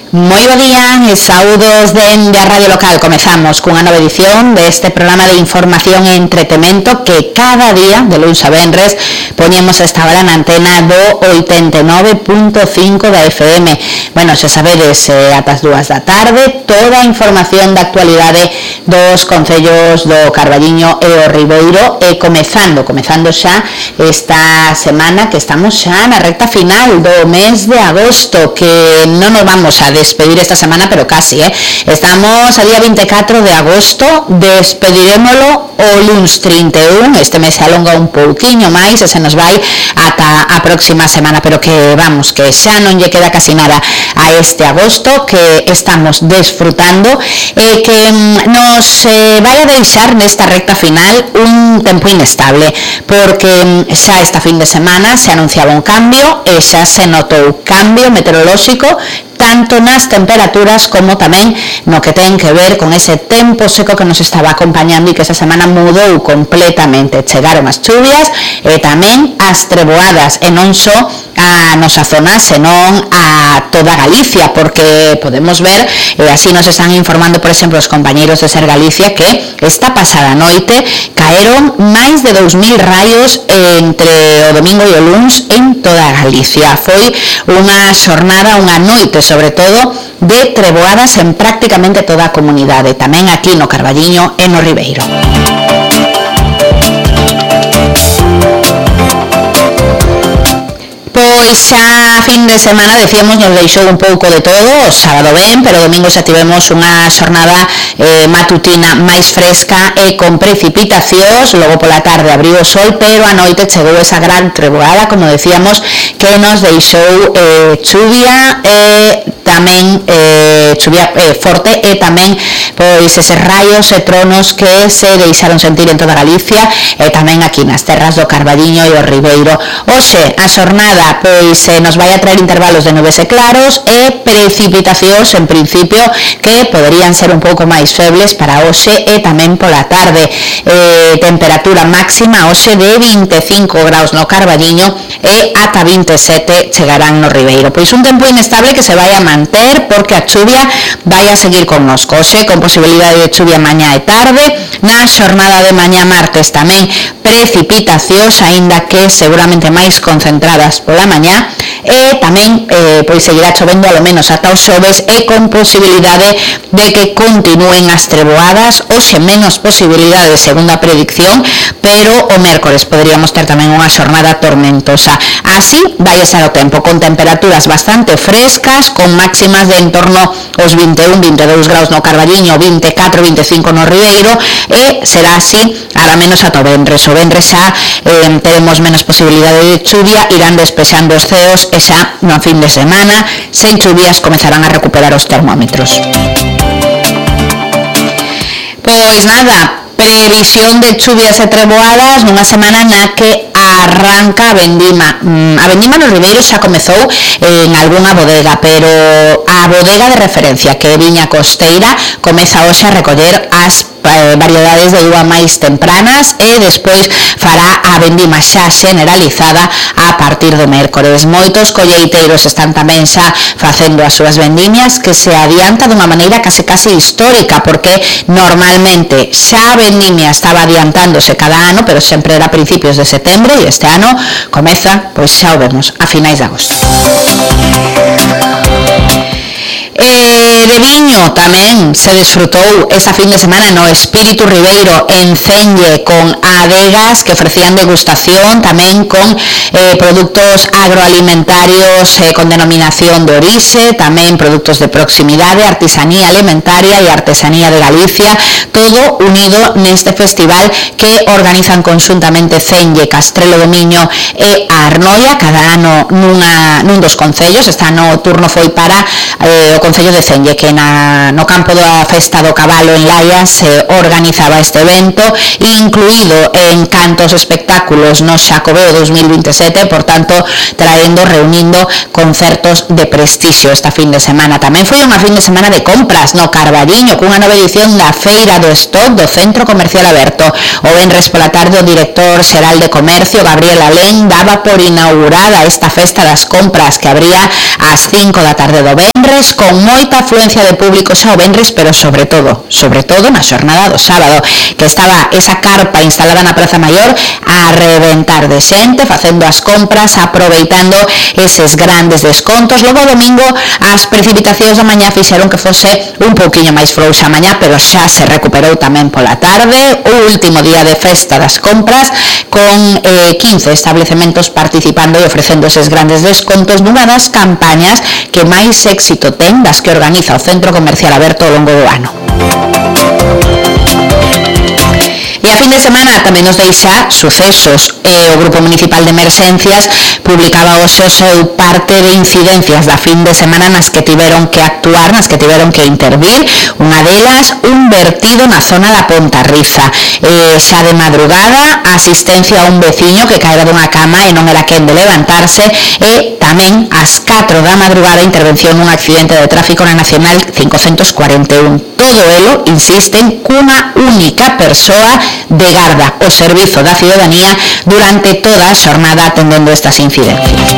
Moi bo día e saúdos dende a Radio Local. Comezamos cunha nova edición deste programa de información e entretemento que cada día, de luns a venres, poñemos esta hora na antena do 89.5 da FM. Bueno, xa sabedes, ata as 2 da tarde, toda a información da actualidade dos concellos do Carballiño e o Ribeiro, e comezando xa esta semana que estamos xa na recta final do mes de agosto, que non nos vamos a despedir esta semana, pero casi, Estamos a día 24 de agosto, despedirémolo o luns 31, este mes se alonga un pouquiño máis e se nos vai ata a próxima semana, pero que vamos, que xa non lle queda casi nada a este agosto que estamos desfrutando e que nos vai a deixar nesta recta final un tempo inestable, porque xa esta fin de semana se anunciaba un cambio e xa se notou cambio meteorolóxico tanto nas temperaturas como tamén no que ten que ver con ese tempo seco que nos estaba acompañando e que esa semana mudou completamente. Chegaron as chuvias e tamén as treboadas, e non só a nosa zona, senón a toda Galicia, porque podemos ver, e así nos están informando, por exemplo, os compañeiros de Ser Galicia, que esta pasada noite caeron máis de 2.000 raios entre o domingo e o luns en toda Galicia. Foi unha xornada, unha noite, sobre todo, de treboadas en prácticamente toda a comunidade, tamén aquí no Carballiño e no Ribeiro. Pois xa fin de semana, decíamos, nos deixou un pouco de todo, o sábado ben, pero o domingo xa tivemos unha xornada matutina máis fresca e con precipitacións, logo pola tarde abriu o sol, pero a noite chegou esa gran treboada, como decíamos, que nos deixou chuvia e tamén chuvia forte e tamén pois eses raios e tronos que se deixaron sentir en toda Galicia e tamén aquí nas terras do Carballiño e o Ribeiro. Hoxe a xornada pois nos vai a traer intervalos de nubes e claros e precipitacións en principio que poderían ser un pouco máis febles para hoxe e tamén pola tarde. Temperatura máxima hoxe de 25 graus no Carballiño e ata 27 chegarán no Ribeiro. Pois un tempo inestable que se vai a manter porque a chuvia vai a seguir connosco. Hoxe con posibilidade de chuvia mañá e tarde, na xornada de mañá martes tamén precipitacións, aínda que seguramente máis concentradas pola mañá, e tamén pois seguirá chovendo alo menos ata os xoves e con posibilidade de que continúen as treboadas. Hoxe menos posibilidades segundo a predicción, pero o mércores poderíamos ter tamén unha xornada tormentosa. Así vai estar o tempo, con temperaturas bastante frescas, con máximas de en torno aos 21-22 graus no Carballiño, 24-25 no Ribeiro, e será así ara menos ata o venres. O venres xa teremos menos posibilidade de chuvia, irán despexando os ceos e xa no fin de semana, sen chuvias, comezarán a recuperar os termómetros. Pois nada, previsión de chuvias e treboadas nunha semana na que arranca a vendima. A vendima no Ribeiro xa comezou en algunha bodega, pero a bodega de referencia, que é Viña Costeira, comeza hoxe a recoller as variedades de uva máis tempranas e despois fará a vendima xa generalizada a partir do mércores. Moitos colleiteiros están tamén xa facendo as súas vendimias, que se adianta dunha maneira case histórica, porque normalmente xa a vendimia estaba adiantándose cada ano, pero sempre era a principios de setembro, e este ano comeza, pois xa o vemos, a finais de agosto. De viño tamén se desfrutou esta fin de semana no Espírito Ribeiro en Cenlle, con adegas que ofrecían degustación, tamén con produtos agroalimentarios con denominación de orixe, tamén produtos de proximidade, artesanía alimentaria e artesanía de Galicia, todo unido neste festival que organizan conxuntamente Cenlle, Castrelo do Miño e a Arnoia, cada ano nun dos concellos. Este ano o turno foi para o concello de Cenlle, que no campo da Festa do Cabalo en Laia se organizaba este evento, incluído en cantos espectáculos no Xacobeo 2027, por tanto reunindo concertos de prestixio esta fin de semana. Tamén foi unha fin de semana de compras no Carballiño, cunha nova edición da Feira do Stock do Centro Comercial Aberto. O venres pola tarde o director xeral de Comercio, Gabriel Alén, daba por inaugurada esta festa das compras que abría ás 5 da tarde do venres venres con moita afluencia de público xa o venres, pero sobre todo na xornada do sábado, que estaba esa carpa instalada na Praza Maior a reventar de xente, facendo as compras, aproveitando eses grandes descontos. Logo o domingo as precipitacións da mañá fixeron que fose un pouquiño máis frouxa a mañá, pero xa se recuperou tamén pola tarde, o último día de festa das compras, con 15 establecementos participando e ofrecendo eses grandes descontos nunha das campañas que máis éxito ten das que organiza o Centro Comercial Aberto ao longo do ano. E a fin de semana tamén nos deixa sucesos. O Grupo Municipal de Emerxencias publicaba hoxe o seu parte de incidencias da fin de semana nas que tiveron que actuar, nas que tiveron que intervir. Unha delas, un vertido na zona da Pontarriza. Xa de madrugada, asistencia a un veciño que caera dunha cama e non era quen de levantarse, e tamén ás 4 da madrugada intervención nun accidente de tráfico na Nacional 541. Todo elo, insisten, cunha única persoa de garda, o Servizo da Ciudadanía, durante toda a xornada atendendo estas incidencias.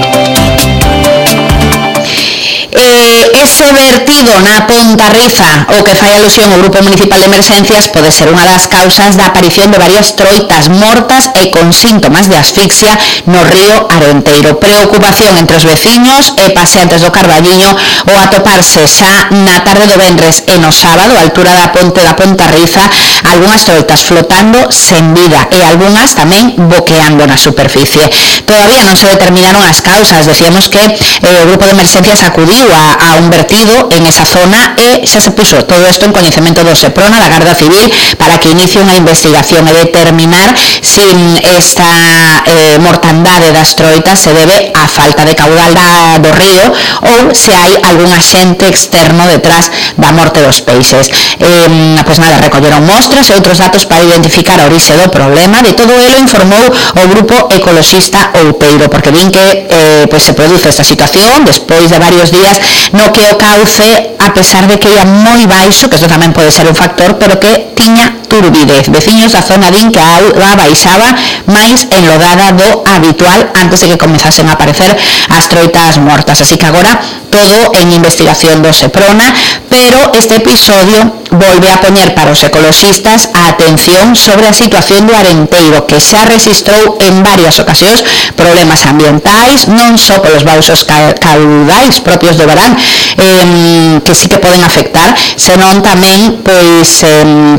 Ese vertido na Pontarriza, o que fai alusión ao Grupo Municipal de Emerxencias, pode ser unha das causas da aparición de varias troitas mortas e con síntomas de asfixia no río Arenteiro. Preocupación entre os veciños e paseantes do Carballiño o atoparse xa na tarde do venres e no sábado, a altura da ponte da Pontarriza, algunhas troitas flotando sen vida e algunhas tamén boqueando na superficie. Todavía non se determinaron as causas. Decíamos que o Grupo de Emerxencias acudiu a un vertido en esa zona e xa se puso todo isto en coñecemento do Seprona, da Garda Civil, para que inicie unha investigación e determinar se esta mortandade das troitas se debe á falta de caudal do río ou se hai algún axente externo detrás da morte dos peixes. Pois nada, recolleron mostras e outros datos para identificar a orixe do problema. De todo elo informou o Grupo Ecoloxista Outeiro, porque din que se produce esta situación despois de varios días no que o cauce, a pesar de que ia moi baixo, que isto tamén pode ser un factor, pero que tiña turbidez. Veciños da zona din que a auga baixaba máis enlodada do habitual antes de que comezasen a aparecer as troitas mortas. Así que agora todo en investigación do Seprona, pero este episodio volve a poñer para os ecoloxistas a atención sobre a situación do Arenteiro, que xa rexistrou en varias ocasións problemas ambientais, non só polos baixos caudais propios do verán, que sí que poden afectar, senón tamén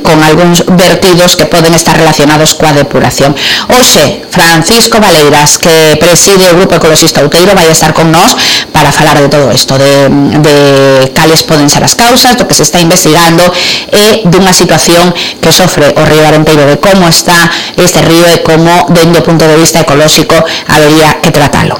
con algúns vertidos que poden estar relacionados coa depuración. Hoxe, Francisco Valeiras, que preside o Grupo Ecoloxista Outeiro, vai estar con nós para falar de todo isto, de cales poden ser as causas, do que se está investigando e dunha situación que sofre o río Arenteiro, de como está este río e como, dende o punto de vista ecolóxico, habería que tratalo.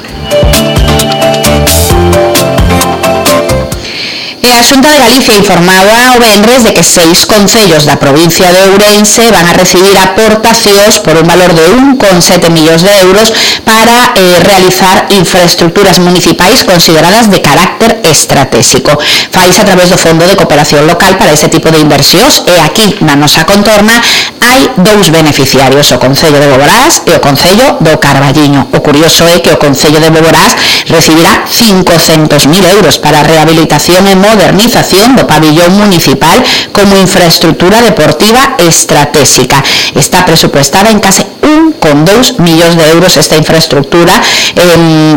E a Xunta de Galicia informaba o venres de que 6 concellos da provincia de Ourense van a recibir aportacións por un valor de 1,7 millóns de euros para realizar infraestructuras municipais consideradas de carácter estratégico. Faise a través do Fondo de Cooperación Local para ese tipo de inversións, e aquí na nosa contorna hai 2 beneficiarios, o Concello de Boborás e o Concello do Carballiño. O curioso é que o Concello de Boborás recibirá 500.000 euros para a rehabilitación e modernización do pabillón municipal como infraestructura deportiva estratégica. Está presupuestada en case 1,2 millóns de euros esta infraestructura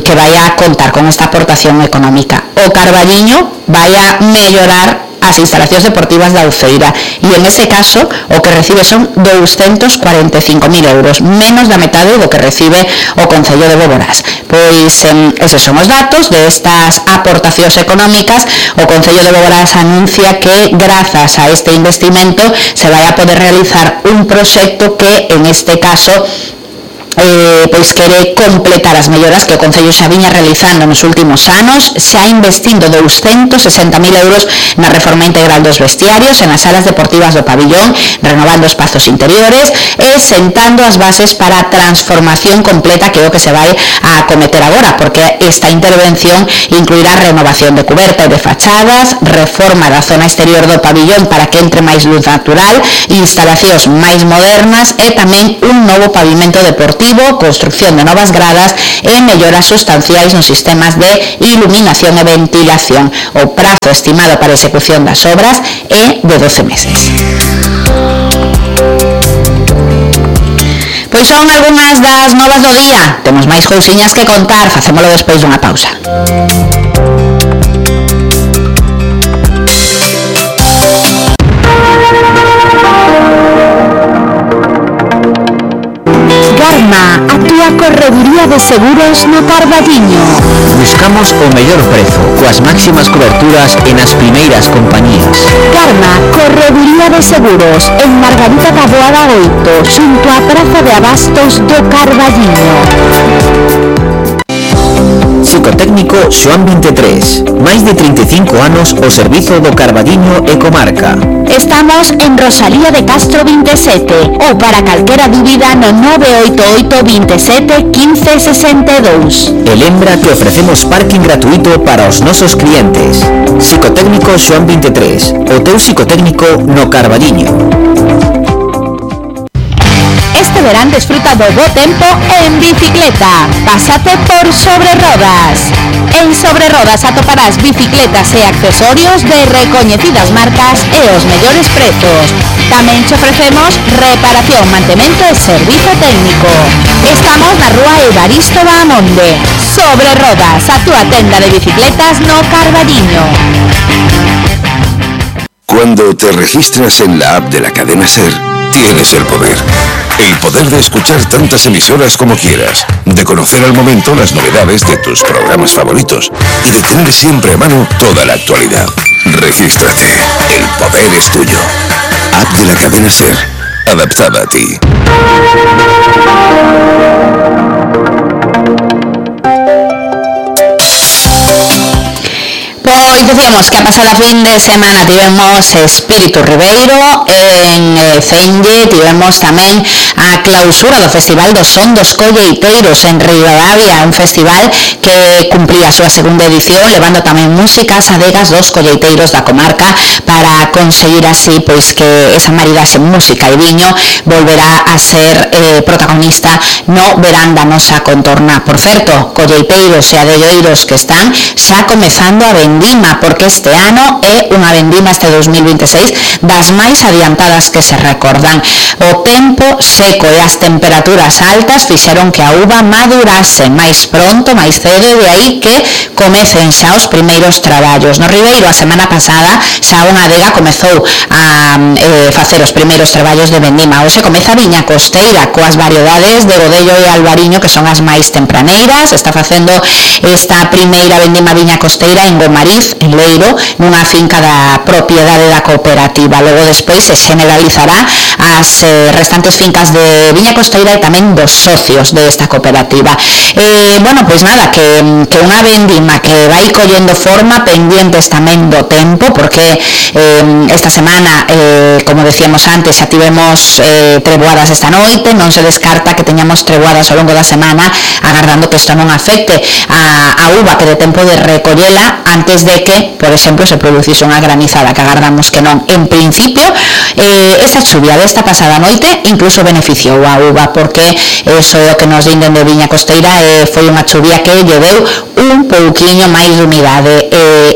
que vai a contar con esta aportación económica. O Carballiño vai a mellorar as instalacións deportivas da Uceira e en ese caso o que recibe son 245.000 euros, menos da metade do que recibe o Concello de Boborás. Pois eses son os datos de estas aportacións económicas. O Concello de Boborás anuncia que grazas a este investimento se vai a poder realizar un proxecto que en este caso pois quere completar as melloras que o Concello xa viña realizando nos últimos anos, xa investindo 260.000 euros na reforma integral dos vestiarios e nas salas deportivas do pabillón, renovando espazos interiores e sentando as bases para a transformación completa, que é o que se vai a acometer agora, porque esta intervención incluirá renovación de cuberta e de fachadas, reforma da zona exterior do pabillón para que entre máis luz natural, instalacións máis modernas e tamén un novo pavimento deportivo motivo, construcción de novas gradas e melloras sustanciais nos sistemas de iluminación e ventilación. O prazo estimado para a execución das obras é de 12 meses. Pois son algunhas das novas do día. Temos máis cousiñas que contar, facémolo despois dunha pausa. Garma, a túa correduría de seguros no Carballiño. Buscamos o mellor prezo, coas máximas coberturas e nas primeiras compañías. Garma, correduría de seguros, en Margarita Taboada 8, xunto á Praza de Abastos do Carballiño. Psicotécnico Xoán 23, máis de 35 anos ao servizo do Carballiño e comarca. Estamos en Rosalía de Castro 27 ou para calquera dúbida no 988 27 15 62. E lembra que ofrecemos parking gratuito para os nosos clientes. Psicotécnico Xoán 23, o teu psicotécnico no Carballiño. Este verán desfruta do bo tempo en bicicleta. Pásate por Sobre Rodas. En Sobre Rodas atoparás bicicletas e accesorios de recoñecidas marcas e os mellores prezos. Tamén te ofrecemos reparación, mantemento e servizo técnico. Estamos na rúa Evaristo Bahamonde. Sobre Rodas, a túa tenda de bicicletas no Carballiño. Cuando te registras en la app de la cadena SER, tienes el poder. El poder de escuchar tantas emisoras como quieras, de conocer al momento las novedades de tus programas favoritos y de tener siempre a mano toda la actualidad. Regístrate. El poder es tuyo. App de la cadena SER, adaptada a ti. Pois decíamos que a pasada fin de semana tivemos Espírito Ribeiro, en Cenge tivemos tamén a clausura do Festival do Son dos Colleiteiros en Ribadavia, un festival que cumplía a súa segunda edición, levando tamén músicas adegas dos colleiteiros da comarca para conseguir así pois que esa maridaxe música e viño volverá a ser protagonista no verán da nosa contorna. Por certo, colleiteiros e adelleiros que están xa comezando a vendima, porque este ano é unha vendima, este 2026, das máis adiantadas que se recordan. O tempo seco e as temperaturas altas fixeron que a uva madurase máis pronto, máis cedo, e de aí que comecen xa os primeiros traballos. No Ribeiro, a semana pasada, xa unha adega comezou a facer os primeiros traballos de vendima. Hoxe comeza a viña costeira, coas variedades de Godello e Albariño, que son as máis tempraneiras. Está facendo esta primeira vendima viña costeira en Gomariz, en Leiro, nunha finca da propiedade da cooperativa. Logo despois se generalizará as restantes fincas de viña costeira e tamén dos socios desta cooperativa. Bueno, pois nada, que unha vendima que vai collendo forma, pendientes tamén do tempo, porque esta semana, como decíamos antes, xa tivemos treboadas esta noite, non se descarta que teñamos treboadas ao longo da semana, agardando que isto non afecte a uva, que de tempo de recollela antes de que, por exemplo, se producise unha granizada, que agardamos que non. En principio, esta chuvia desta pasada noite incluso beneficiou a uva, porque eso é o que nos dinden de viña costeira, foi unha chuvia que lle deu un pouquiño máis de humidade.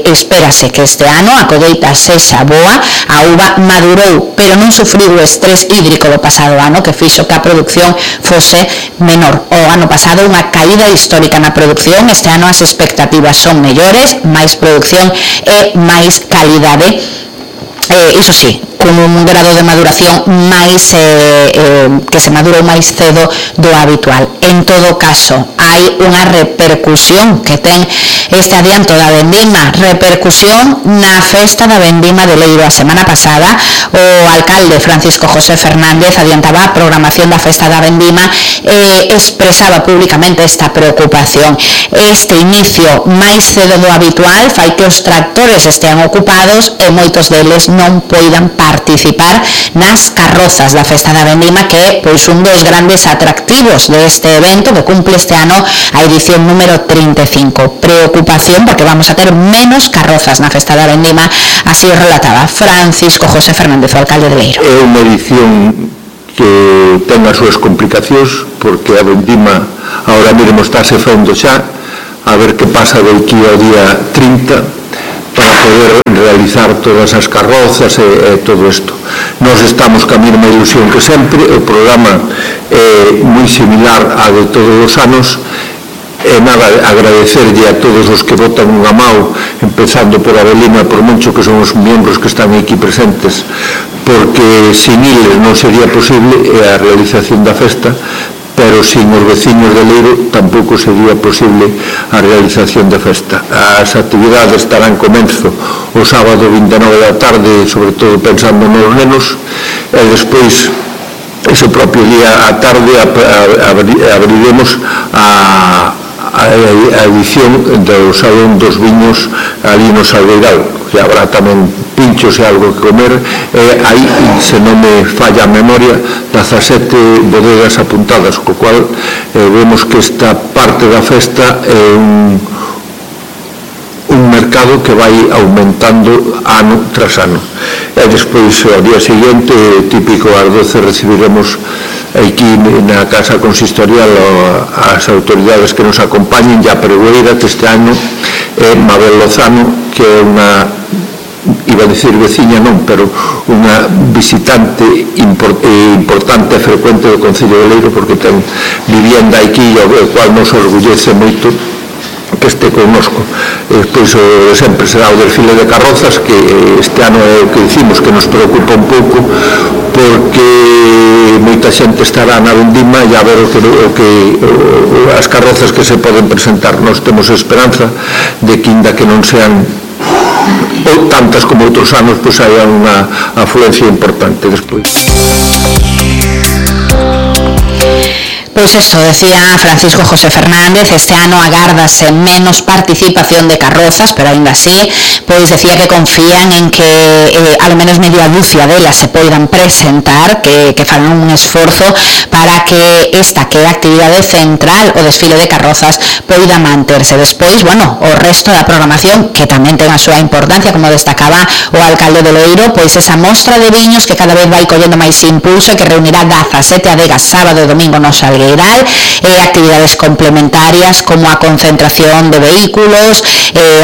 Espérase que este ano a colleita sexa boa, a uva madurou, pero non sufriu o estrés hídrico do pasado ano, que fixo que a produción fose menor. O ano pasado unha caída histórica na produción, este ano as expectativas son mellores, máis producción e máis calidade. Iso sí, con un grado de maduración máis que se madurou máis cedo do habitual. En todo caso, hai unha repercusión que ten este adianto da vendima, repercusión na festa da vendima de Leiro. A semana pasada o alcalde Francisco José Fernández adiantaba a programación da festa da vendima e expresaba públicamente esta preocupación. Este inicio máis cedo do habitual fai que os tractores estean ocupados e moitos deles non poidan participar nas carrozas da festa da vendima, que é pois un dos grandes atractivos deste evento que cumple este ano a edición número 35. Preocupación porque vamos a ter menos carrozas na festa da vendima, así o relataba Francisco José Fernández, o alcalde de Leiro. É unha edición que ten as súas complicacións, porque a vendima ahora mesmo estáse fendo xa, a ver que pasa de aquí ao día 30 para poder realizar todas as carrozas e todo isto. Nós estamos ca mesma ilusión que sempre, o programa é moi similar a de todos os anos. E nada, agradecerlle a todos os que votan unha mão, empezando por Abelino e por Moncho, que son os membros que están aquí presentes, porque sin eles non sería posible a realización da festa, pero sin os veciños de Leiro tampouco sería posible a realización da festa. As actividades estarán comenzo o sábado 29 da tarde, sobre todo pensando nos nenos, e despois ese propio día a tarde abriremos a edición do Salón dos Viños ali no Salgueiral, que habrá tamén pinchos e algo que comer, e aí, se non me falla a memoria, 17 bodegas apuntadas, co cual vemos que esta parte da festa é un mercado que vai aumentando ano tras ano. E despois, ao día seguinte, típico ás 12, recibiremos aquí na Casa Consistorial as autoridades que nos acompañen, e a pregoeira que este ano é Mabel Lozano, que é unha, iba a dicir veciña non, pero unha visitante importante e frecuente do Concello de Leiro, porque ten vivienda aquí, o cual nos orgullece moito que este connosco. Despois o de sempre será o desfile de carrozas, que este ano é o que dicimos que nos preocupa un pouco, porque moita xente estará na vendima e a ver as carrozas que se poden presentar. Nós temos esperanza de que, inda que non sean tantas como outros anos, pois haya unha afluencia importante despois. Pois isto, decía Francisco José Fernández, este ano agárdase menos participación de carrozas, pero aínda así, pois decía que confían en que ao menos media dúcia delas se poidan presentar, que farán un esforzo para que esta, que é a actividade central, o desfile de carrozas, poida manterse. Despois, bueno, o resto da programación, que tamén ten a súa importancia, como destacaba o alcalde de Loiro, pois esa mostra de viños que cada vez vai collendo máis impulso e que reunirá 17 adegas sábado e domingo no Salgueiral, actividades complementarias como a concentración de vehículos,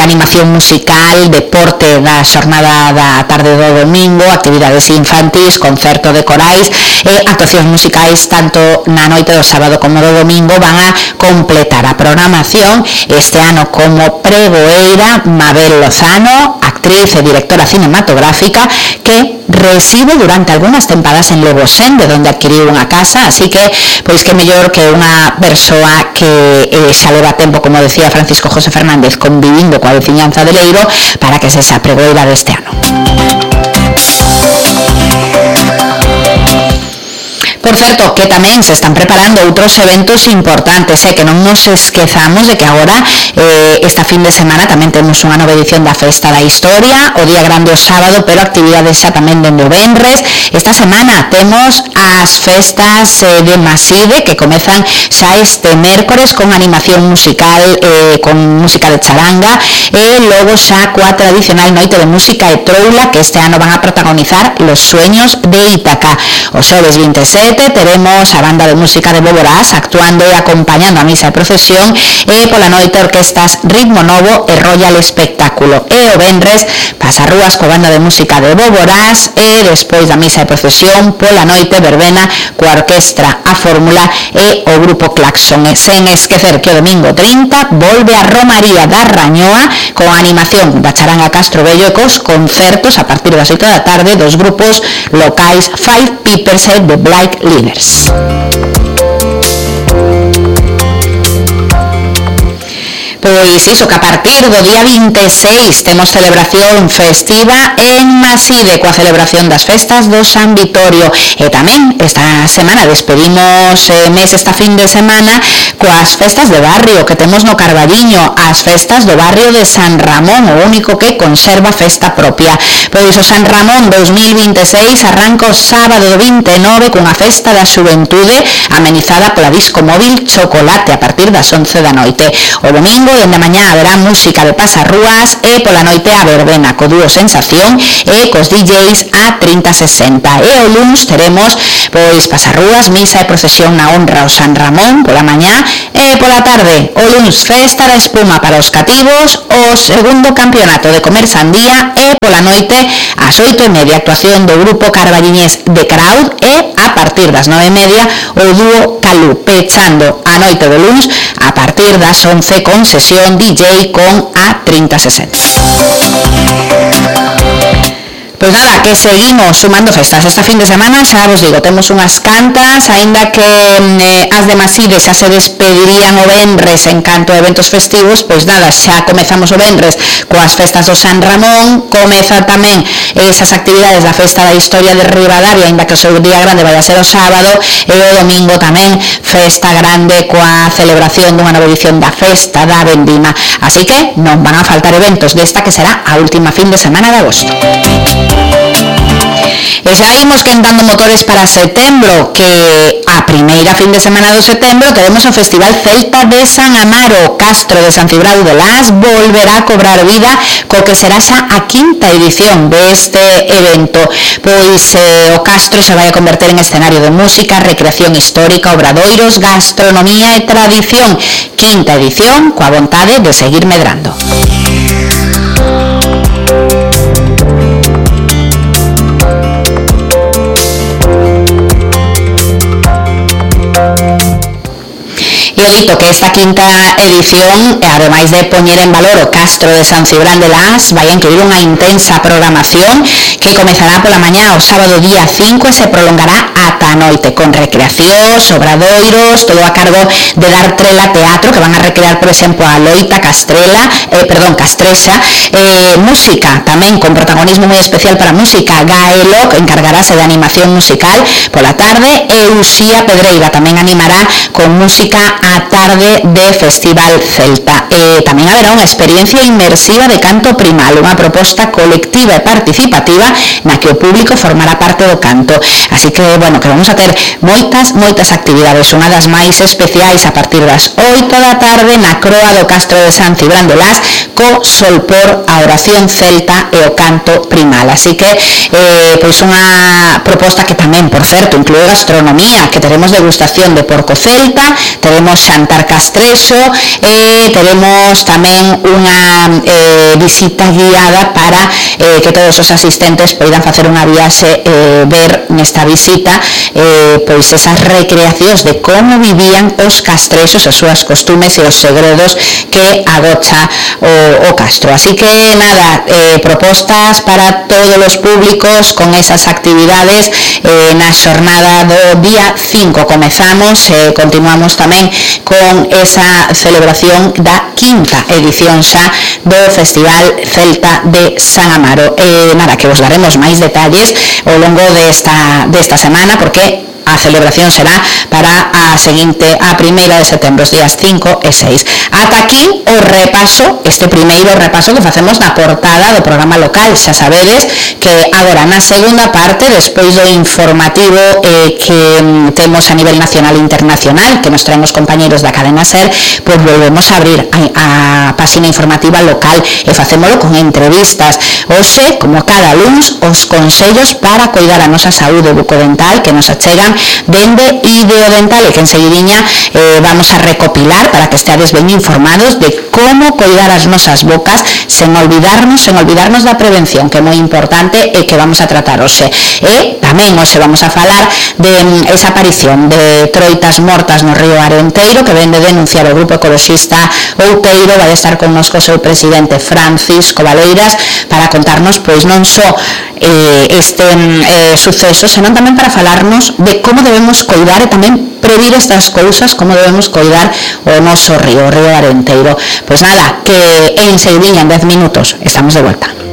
animación musical, deporte da xornada da tarde do domingo, actividades infantis, concerto de corais e actuacións musicais tanto na noite do sábado como do domingo. Van a completar a programación este ano como pregoeira Mabel Lozano, actriz e directora cinematográfica, que reside durante algunhas tempadas en Levosén, de onde adquiriu unha casa, así que, pois que mellor que unha persoa que xa leva tempo, como decía Francisco José Fernández, convivindo coa veciñanza de Leiro, para que se xa pregoeira deste ano. Por certo, que tamén se están preparando outros eventos importantes, que non nos esquezamos de que agora esta fin de semana tamén temos unha nova edición da Festa da Historia, o día grande o sábado, pero actividades xa tamén dende o venres. Esta semana temos as festas de Maside, que comezan xa este mércores con animación musical, con música de charanga, e logo xa coa tradicional noite de música e troula, que este ano van a protagonizar Los Sueños de Ítaca. O xoves 27 teremos a banda de música de Boborás actuando e acompañando a misa de procesión, e pola noite orquestas Ritmo Novo e Royal Espectáculo, e o venres pasarrúas coa banda de música de Boborás, e despois da misa de procesión pola noite verbena coa orquestra A Fórmula e o grupo Claxon. E sen esquecer que o domingo 30 volve a Romaría da Rañoa con a animación da charanga Castro Bello e cos concertos a partir das 8 da tarde dos grupos locais Five Peepers e The Black Leaders. Pois iso, que a partir do día 26 temos celebración festiva en Maside coa celebración das festas do San Vitorio, e tamén esta semana despedimos mes esta fin de semana coas festas de barrio que temos no Carballiño, as festas do barrio de San Ramón, o único que conserva festa propia. Pois o San Ramón 2026 arranca o sábado do 29 cunha festa da xuventude amenizada pola disco móvil Chocolate a partir das 11 da noite. O domingo dende a mañá haberá música de pasarrúas e pola noite a verbena co dúo Sensación e cos DJs a 30-60. E o luns teremos pois pasarrúas, misa e procesión na honra ao San Ramón pola mañá e pola tarde o luns festa da espuma para os cativos, o segundo campeonato de comer sandía e pola noite ás 8:30 actuación do grupo carballiñés de Crowd e a partir das 9:30 o dúo Calú, pechando a noite do luns a partir das 11 con sesión DJ con a 30-60. Pois nada, que seguimos sumando festas esta fin de semana, xa vos digo, temos unhas cantas, aínda que as de Maside xa se despedirían o venres en canto a eventos festivos, pois nada, xa comezamos o venres coas festas do San Ramón, comeza tamén esas actividades da Festa da Historia de Ribadavia, aínda que o seu día grande vai a ser o sábado, e o domingo tamén festa grande coa celebración dunha nova edición da Festa da Vendima, así que non van a faltar eventos desta que será a última fin de semana de agosto. E xa imos quentando motores para setembro, que a primeira fin de semana do setembro teremos o Festival Celta de San Amaro. Castro de San Cibrao de Las volverá a cobrar vida co que será xa a quinta edición deste evento, pois o Castro se vai a converter en escenario de música, recreación histórica, obradoiros, gastronomía e tradición. Quinta edición coa vontade de seguir medrando. E dito que esta quinta edición, ademais de poñer en valor o Castro de San Cibrán de Las, vai a incluir unha intensa programación que comezará pola mañá o sábado día 5 e se prolongará ata a noite, con recreacións, obradoiros, todo a cargo de Dar Trela Teatro, que van a recrear, por exemplo, a loita castrexa, música tamén con protagonismo moi especial para a música. Gaelo, que encargarase de animación musical pola tarde, e Uxía Pedreira tamén animará con música a tarde de Festival Celta. Tamén haberá unha experiencia inmersiva de canto primal, unha proposta colectiva e participativa na que o público formará parte do canto. Así que, bueno, que vamos a ter moitas actividades, unha das máis especiais a partir das 8 da tarde na croa do Castro de San Cibrán de Las co Solpor, a oración celta e o canto primal. Así que, pois unha proposta que tamén, por certo, inclúe gastronomía, que teremos degustación de porco celta, teremos xantar castrexo e teremos tamén unha visita guiada para que todos os asistentes poidan facer unha viaxe, ver nesta visita pois esas recreacións de como vivían os castrexos, as súas costumes e os segredos que agocha o Castro. Así que nada, propostas para todos os públicos con esas actividades na xornada do día 5 comezamos, continuamos tamén con esa celebración da quinta edición xa do Festival Celta de San Amaro. Nada, que vos daremos máis detalles ao longo desta semana, porque a celebración será para a primeira de setembro, os días 5 e 6. Ata aquí o repaso, este primeiro repaso que facemos na portada do programa local. Xa sabedes que agora na segunda parte, despois do informativo que temos a nivel nacional e internacional, que nos traen os compañeros da cadena SER, pois volvemos a abrir a páxina informativa local e facémolo con entrevistas. Hoxe, como cada luns, os consellos para coidar a nosa saúde bucodental que nos achegan dende Ideodental, e que enseguidiña vamos a recopilar para que esteades ben informados de como coidar as nosas bocas sen olvidarnos da prevención, que é moi importante e que vamos a tratar hoxe. E tamén hoxe vamos a falar de esa aparición de troitas mortas no río Arenteiro, que ven de denunciar o grupo ecoloxista Outeiro. Vai estar connosco o seu presidente Francisco Valeiras para contarnos pois non só este suceso, senón tamén para falarnos de como debemos coidar e tamén previr estas cousas, como debemos coidar o noso río Arenteiro. Pois nada, que enseguida en 10 minutos estamos de volta.